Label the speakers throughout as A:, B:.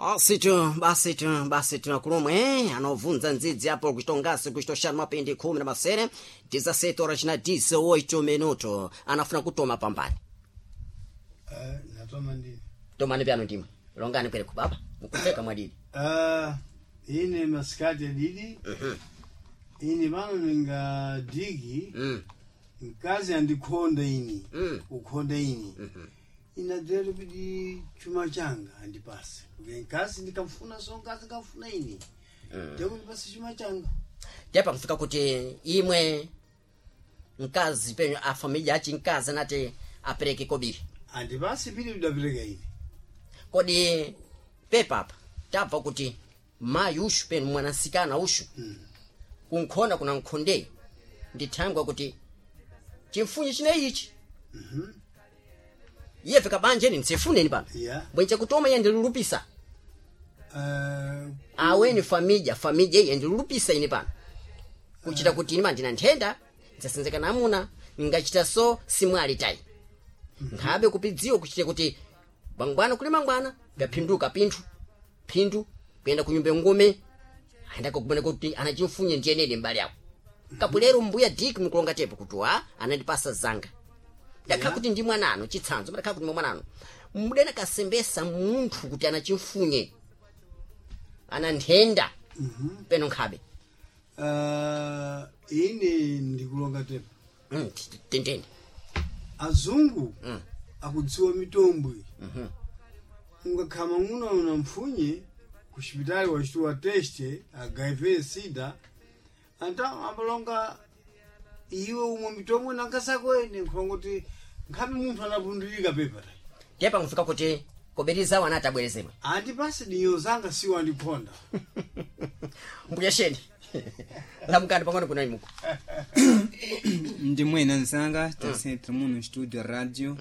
A: Basitu basitu basitu akulomwe anovunza ndzidzi apo kuchitongasi kuchitoshanu mapindi 17 17 horas na 18 minuto anafuna kutoma pambani.
B: Natoma ndini.
A: Tomani pyano ndimwe longani kwere kubaba mukupeka mwadidi.
B: Ine masikati adidi. Ine pano ninga digi. Mkazi andikhonda ini. Ukhonda ini. Inadzera kuti chuma changa andipase. Kuti mkazi ndikamfuna so mkazi ndikamfuna ini. Ndikundipase chuma changa.
A: Tepa kufika kuti imwe mkazi penyo a familia achi mkazi anati apereke kobiri.
B: Andipase pili kudapereka ine.
A: Kodi pepa apa tabva kuti mayi ushu penu mwanasikana ushu kunkhonda kuna nkhonde ndithangwa kuti chimfunye chine ichi. Iye fika banjeni ntsifuneni pano. Bwenje kutoma iye ndilulupisa. Aweni famija famija iye ndilulupisa ine pano. Kuchita kuti ine mandina nthenda ndzasenzeka namuna ngachita so simwali tayi. Nkhabe kupidziwa kuchita kuti bwangwana kuli mangwana vyaphinduka pinthu phindu kuyenda kunyumba ngome ayenda kukubona kuti anachimfunye ndiyenene mbali yako. Kapulero mbuya Dick mukulonga tepo kuti wa anandipasa zanga. Ndakhala kuti ndi mwanano chitsanzo ndakhala kuti ndi mwanano. Mudena kasembesa munthu kuti anachimfunye ana nthenda peno nkhabe.
B: Ine ndikulonga tepo.
A: Tendeni.
B: Azungu akudziwa mitombwe. Ungakhama ng'uno una mpfunye ku xipitali wachitiwa teste HIV sida anta ambalonga iwe umwe mitombwe nankasako ene nkhulonga kuti nkhabe munthu anapundulika pepa tayi.
A: Tepa nkufika kuti kobirizawo anati abwerezemwe.
B: Andipase dinyo zanga siwo andikhonda.
A: Mbuya sheni. Lamukani pang'ono kuna imuko.
C: Ndi mwena nzanga tasentri muno studio radio.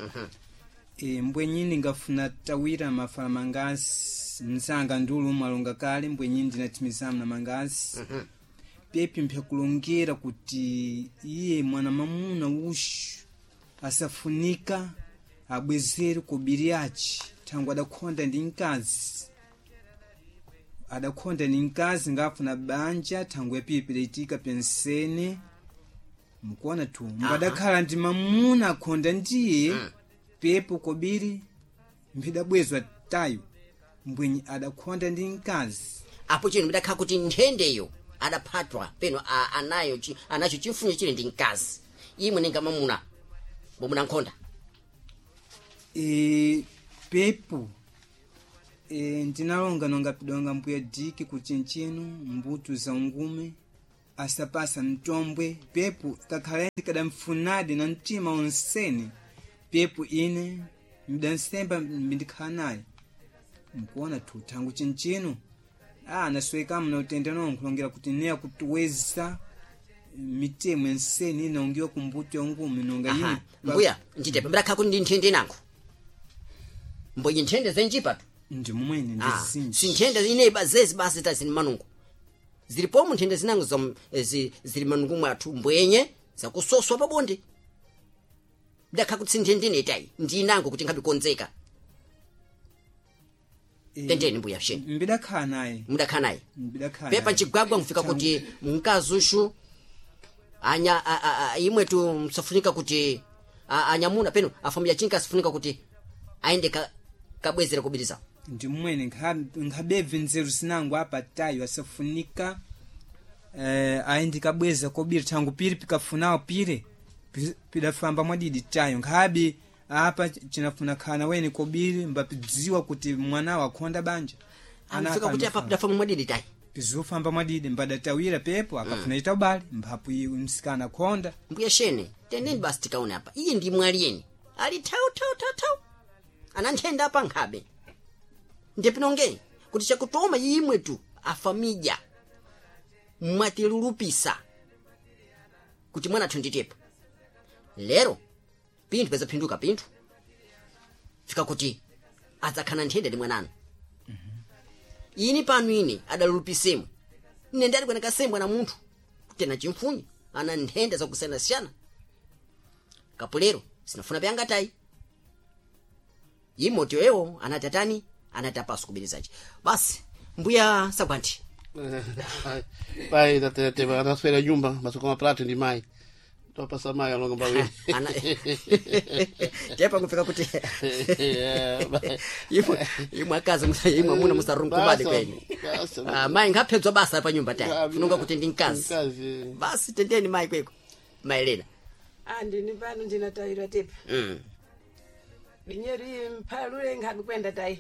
C: Mbwenyini ngafuna tawira mafala mangazi mzanga ndulu mwalonga kale mbwenyini ndinathimizamu na mangazi. Pepi mpyakulongera kuti iye mwana mamuna uxu asafunika abwezere kobiri yace thangwe adakhonda ndi mkazi. Adakhonda ni mkazi ngafuna banja thangwe yapipi itika pensene mukuona tu mbadakhala ndi mamuna akhonda ndiye. Pepo kobiri mbidabwezwa tayo mbwenyi adakhonda ndi mkazi.
A: Apo chino ndakhala kuti nthendeyo adaphatwa peno anayo anacho chimfunyo chili ndi mkazi. Imwe ninga mamuna bomuna nkhonda.
C: Pepo ndinalonga nonga pidonga mbuya diki kuchinchino mbutu za ungume asapasa mtombwe pepo kakhala kadamfunadi na mtima onsene pepo ine mdansemba mbindikhala naye mukuona tu thangu chinchino naswekamu na utenda nonkhulongera kuti neya kutiweza mitemo ensene inaungiwa kumbuto ya ungume nonga ine
A: Mbuya nditepe ndakhala kuti ndi nthende nango. Mbwenye nthende zenjipa tu.
C: Ndi mumwene ndizinji.
A: Si nthende ineyi zezi basi tazini manungo. Zilipomu nthende zinango zili manungo mwathu mbwenye zakusoswa pabonde. Ndakhala kuti si nthende ineyi tayi ndi inango kuti nkhabikonzeka. Tendeni mbuya sheni.
C: Mbidakhala naye.
A: Mudakhala naye.
C: Mbidakhala
A: Pepa
C: naye.
A: nchigwagwa mfika kuti mkazi ushu anya imwe tu msafunika kuti anyamuna peno afamilya chinka asifunika kuti aende kabwezera kubiriza.
C: Ndi mmwene nkhabebve nzeru zinango apa tayo asafunika aende kabweza kobiri thangu piri pikafunawo pire pidafamba mwadidi tayo nkhabe apa chinafuna khana wene kobiri mbapidziwa kuti mwanawo akhonda banja.
A: Amfika kuti apa pidafamba mwadidi tayi.
C: Pizofamba mwadidi mbadatawira pepo akafuna ita ubale mphapu iwe msikana akhonda.
A: Mbuya shene teneni basi tikaone apa iye ndi mwali ali thau thau thau thau ana nthenda apa nkhabe. Ndipinonge kuti chakutoma imwe tu afamija mwatilulupisa kuti mwana athu nditepo. Lero pinthu pezaphinduka pinthu fika kuti adzakhala nthenda ndi mwananu. Ini pano ine adalulupisemwe ine ndali kwena kasembwa na munthu kuti ana chimfunye ana nthenda zakusiyanasiyana. Kapulero sinafuna pyanga tayi. Imoto ewo anati atani Anati apaso kubirizaci basi mbuya sagwanti.
D: Pai tatete anaswera nyumba masoko maprato ndi mai topasa mai alonga mbawiri.
A: Tepa kufika kuti imwe imwe akazi imwe amuna musarunkumade kwenyu. Ah, mai ngaphedzwa basa pa nyumba tayi funonga kuti ndi mkazi.
D: Mkazi.
A: Basi tendeni mai kweko maelena.
E: Ah, ndini pano ndinatayirwa tepa. Dinyeri mphalule nkhabe kwenda tayi.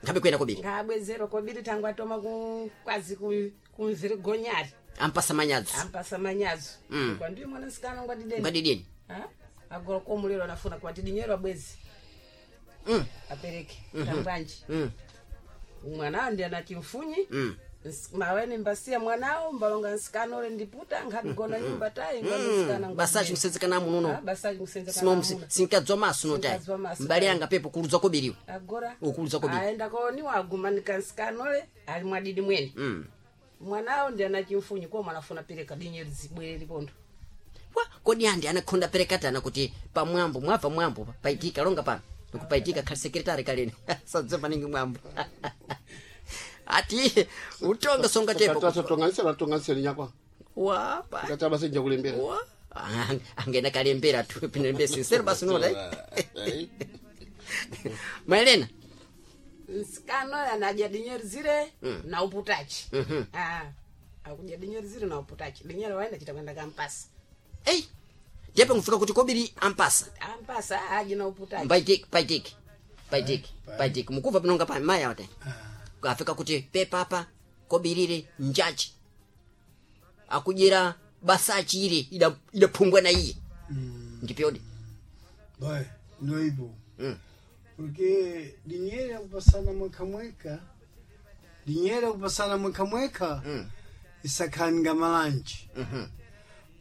A: Nkhabe kwenda kobiri.
E: Ngabwezerwa kobiri tangu atoma ku kwazi ku kumviri gonyari.
A: Ampasa manyadzo.
E: Ampasa manyazo. Kwa ndiyo mwanasikana ngwadideni.
A: Ngwadideni.
E: Ha? Agora komulero anafuna kwati dinyero abwezi. Apereke. Tambwanji. Mwanao ndi anachimfunyi. Maweni mbasiya mwanao mbalonga nsikana ule ndiputa nkhabigona nyumba tayi ngwanisikana.
A: Basachi kusenzekana mununo.
E: Basachi kusenzekana.
A: Simo sinkadzwa maso no tayi.
E: Sinkadzwa maso
A: mbali
E: tayi.
A: yanga pepo kuludzwa kobiriwe.
E: Agora
A: Ukuludzwa kobiri.
E: Aenda koniwa agumanika nsikana ule ali mwadidi mwene. Mwanao ndi anachimfunyi kwa mwanafuna pereka dinyero zibwere lipondo.
A: Wa, kodi andi anakhonda perekatana kuti pamwambo mwabva mwambo paitika longa pano nikupaitika khali sekretari kaleni sadze maningi mwambo ati utonga songa tepo.
D: Tonganisira tonganisira nyakwa.
A: Wa pa
D: Kati abasenja kulembera.
A: wa. Ah, angena kalembera tu pinembe sincero basi nola. Maelena.
E: Nsikana ule anadya dinyero zile na uputachi. Ah, akudya dinyero zile na uputachi dinyero waenda chita kwenda kampasa.
A: Ei, tepo nkufika kuti kobiri ampasa.
E: Ampasa aji na uputachi.
A: Paitiki paitiki paitiki paitiki mukuva pinonga pa maya wate afika kuti pepapa kobirire njaji akudyera basachi ile idaphumbwa na iye ndipyodi.
B: Vai, noibo. Porque dinheiro é kupasana mweka mweka. Dinheiro é kupasana mweka mweka. Isakhani malanji.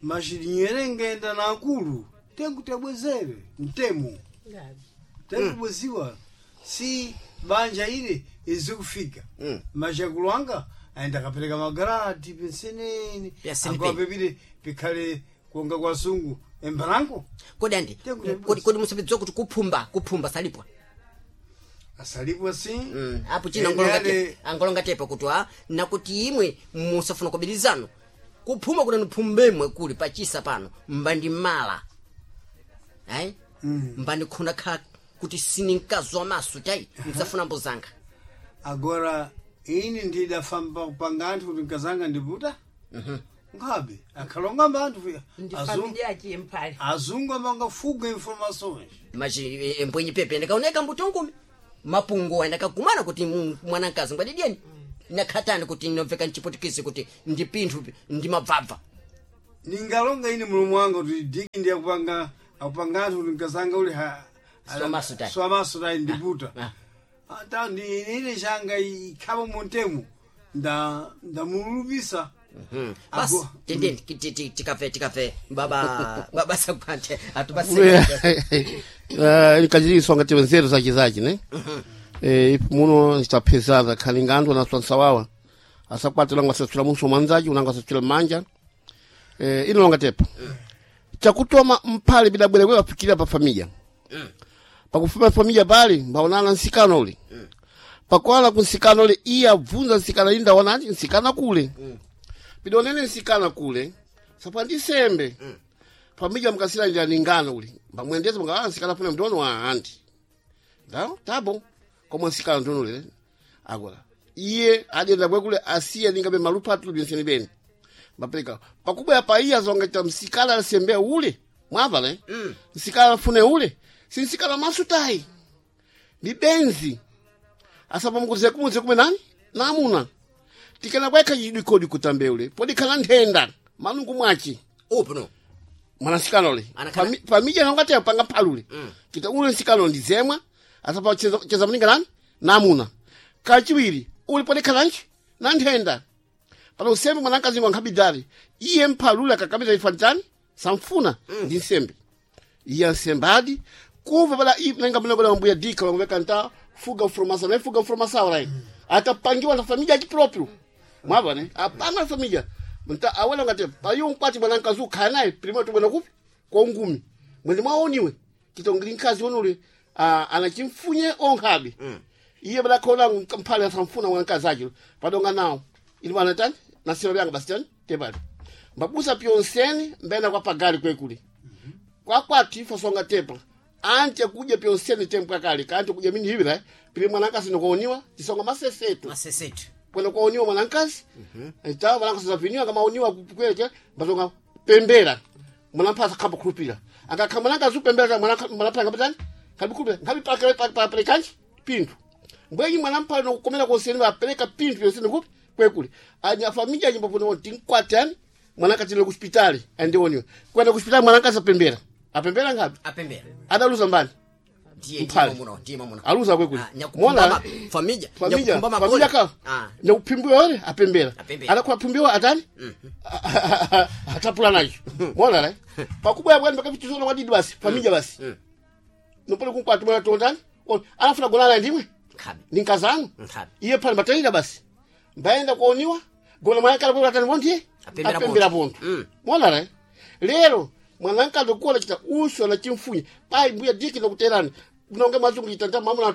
B: Mas dinheiro engenda na akulu. Tem kuti abwezere. Mtemo.
E: Ngabi.
B: Tem kubweziwa. Si banja ile izikufika. Mas akulu anga aenda akapereka magrati penseneni.
A: Penseni
B: Agora
A: pe.
B: pepile pikhale kuonga kwa sungu embalango.
A: Kodi andi
B: Tengo kuti
A: kodi musapedzwa kuti kuphumba kuphumba salipwa.
B: Asalipwa si.
A: Apo china
B: Ene
A: angolonga
B: ale-
A: tepo angolonga tepo kuti a nakuti imwe musafuna kubirizano kuphuma kuti niphumbemwe kuli pachisa pano mbandimala ayi mbandikhona khala kuti sininkazwa maso tayi msafuna mbozanga.
B: Agora ini ndidafamba kupanga anthu kuti nkazanga ndiputa nkhabe akhalonga anthu
E: Ndi familia yachi mphale.
B: Azungu amangafuga informações.
A: Machi mbwenyi pepe ndikaoneka mbuto ngumi mapungu andakagumana kuti mwanankazi ngwadidyeni nakhatani kuti nomveka mchiputikisi kuti ndi pinthu ndi mabvabva.
B: Ningalonga ini mulumu wanga kuti diki ndi akupanga akupanga anthu kuti nkazanga uli
A: Swamaso tayi.
B: swamaso tayi ndiputa.
A: Ah.
B: Ata ndi ine changa ikhapa muntemu nda ndamulupisa.
A: Basi
B: Ago-
A: tendeni tikafe tikafe baba baba sakwante atubaseka.
D: Nikajiri ngati nzeru zachi zachi ne. Ipo muno zitaphezana khali nga anthu anaswansawawa asakwatira ngo asaswira muso mwanzachi unango asaswira mmanja. Ino longa tepo chakutoma mphale bidabwera kwe wafikira pa familia pakufuma familia pali mbaonana nsikano ule pakwala kunsikano ule iye abvunza nsikana ili ndaonani nsikana kule pidonene nsikana kule sapandisembe familia mukasira njira ningano ule mbamwendeza mga nsikana funa mndono wa anti ndao tabo komwe nsikana ndono ule agora iye adenda bwekule asiye ningabe malupatu benseni beni mapereka pakubwa pa iya zonga msikala asembe ule mwava ne msikala afune ule si msikala masutai ni benzi asapa mkuze kumuze kume nani namuna tikana kweka yidikodi kutambe ule podi kana nthenda malungu mwachi
A: upo no
D: mwanasikana ule
A: Anakhala-
D: Famija nongati apanga phalule kita ule nsikano ndizemwa asapa cheza, cheza mninga nani namuna kachiwiri ule podi kalanchi na nthenda pano usembe mwanakazi ngwa nkhabidali iye mphalule akakamita ifanitani samfuna ndi nsembe iye ansembadi kuva pala nenga mnagola mbuya dika wangweka nta fuga formação não é fuga formação lai atapangiwa na família aqui próprio mwava né apanga na família nta awela ngati payo nkwati bwana nkazu khanaye primeiro tubona kupi kwa ngumi mwende mwaoniwe kitongiri nkazi onule anachimfunye onkhabe. Iye badakhona mphale asamfuna mwanakazi acho padonga nawo ili wanatani nasilo byanga basi tani tepali mbabusa pyonseni mbena kwa pagali kwekuli kwakwati ifo songa tepa ante kuja pyonseni tempo akali kante kuja mini hivira pili mwanakazi nokuoniwa tisonga masesetu
A: Masesetu.
D: kwenda kwaoniwa mwanankazi ita mwanankazi zapiniwa kama oniwa kweleke batonga pembera mwanampasa kamba kulupira akakha mwanankazi upembera mwanampasa kapitani kabikulupira ngabi pakale pakale kanji pindu mbwenyi mwanampasa nokukomera konseni vapereka pindu yonseni kupi kwekuli anya familia nyimbo puno tinkwatani mwanakazi le kuspitali andioniwa kwenda kuspitali mwanankazi apembera apembera ngapi
A: Apembera.
D: adaluza mbani
A: Ndiye
D: Mphale.
A: ndimo muno, ndimo muno.
D: aluza kwekuli
A: Ah, nyakuphumba famija,
D: familia
A: nyakuphumba
D: familia
A: magoli.
D: ka
A: Ah.
D: nyakuphimbiwa ole apembera
A: Apembera.
D: adakuphimbiwa atani atapula nacho mona la pakubwa bwana pakapitizona wadidi basi familia basi nopole kunkwati mwana tondani anafuna gonana ndimwe
A: Nkhabe.
D: ninkazanu
A: Nkhabe.
D: iye pale mataida basi mbaenda kuoniwa gona mwanakala kwa atani bondiye
A: Apembera
D: apembera
A: ponto.
D: ponto mona la lero mwanankazi kuola chita uso na chimfunya pai mbuya diki nokuterani nonge mwazungu chitanta mamuna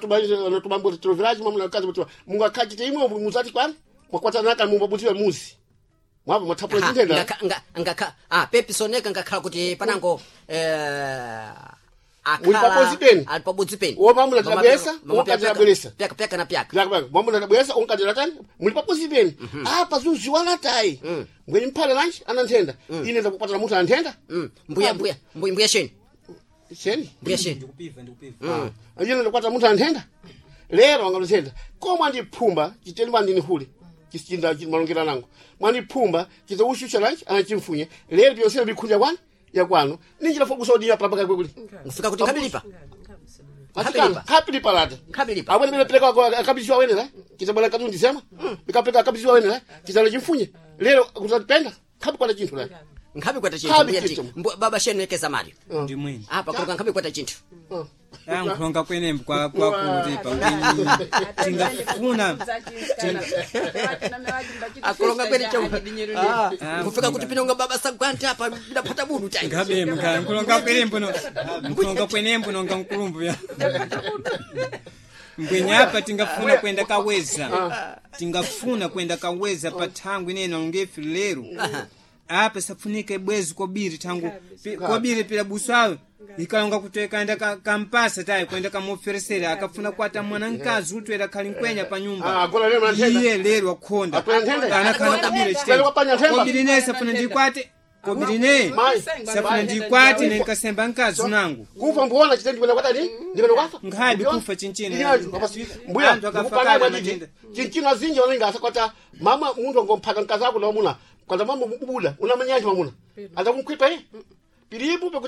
D: natubambo tiloviraji mamuna kazi mutu mungakachite imwe muzati kwani mwakwatana mumbabuziwe muzi mwapo mwathapula
A: Aha,
D: chintenda
A: ngakha pepi soneka ngakhala kuti panango
D: Uli pabodzi peni?
A: ali pabodzi peni
D: Wo pamuna tidabweresa,
A: Mama
D: wo
A: pyaka-
D: tidabweresa.
A: pyaka pyaka na pyaka
D: mwamuna tabwesa unkatira tani muli pabuzi peni apa zuziwana tayi mbweni mphale lanji ananthenda ine ndakukwatana munthu ananthenda
A: mbuya mbuya mbuya mbuya sheni
D: cheni
A: mbuya sheni
C: ndikupiva ndikupiva
D: ine ndakwata munthu anthenda lero angaluthenda ko mwandiphumba chiteni mwandinihule chinda malongera nango mwandiphumba chite ushusha lanji anachimfunye lero pyonsene bikhunja kwani yakwanu ninjira fokusa udinya palapaka kwekuli
A: ngufika kuti nkabilipa
D: Atikana, kapilipa lata
A: Nkabilipa.
D: awene bile peleka akabisiwa awene la chite bwana katundi sema bikapeleka akabisiwa awene la chitalo chimfunye lero kuzatipenda kabikwata chinthu la
A: nkhabi kwata chinthu
D: Nkhabi
A: mbuya
D: chinthu.
A: baba sheni nekeza mali
C: ndimwene
A: apa kuloka nkhabi kwata chinthu
C: ankhulonga kwenembo kwakulutepa ngwenyi tingafuna
A: akulonga kwene chau ngufika kuti pinonga baba sagwante apa bidapata budu tai
C: ngabe nkulonga kwenembo no nkulonga kwenembo nonga nkulumbu ya mbwenyapa tingafuna kwenda kaweza tingafuna kwenda kaweza pa thangu inene nalongefi lero apa safunika ibwezi kobiri thangu kobiri pila buso awe ikalonga kuti kaenda kampasa tayi kwenda kamuoferesera akafuna kwata mwana mkazi utwera khali nkwenya pa
D: Ah,
C: nyumba
D: agora lero mwanthenda.
C: iye lero akhonda
D: Akwenda nthenda?
C: anakhala kobiri
D: Lero kwapanya nthemba?
C: kobiri ne safuna ndikwate kobiri ne
D: Mai.
C: safuna ndikwate nenkasemba mkazi unangu
D: kufa mbuona chite ndipenda kwatani ndipenda kwafa
C: Nkhabi kufa chinchini.
D: mbuya
C: Anthu akafa
D: ndikupana
C: kale
D: mwadidi
C: matenda.
D: chinchino azinji wanenge asakwata mama munthu angomphata mkazi ako namuna kwata mama mubuda unamanyaji mamuna azakumkhwipa iye pilipo pekuti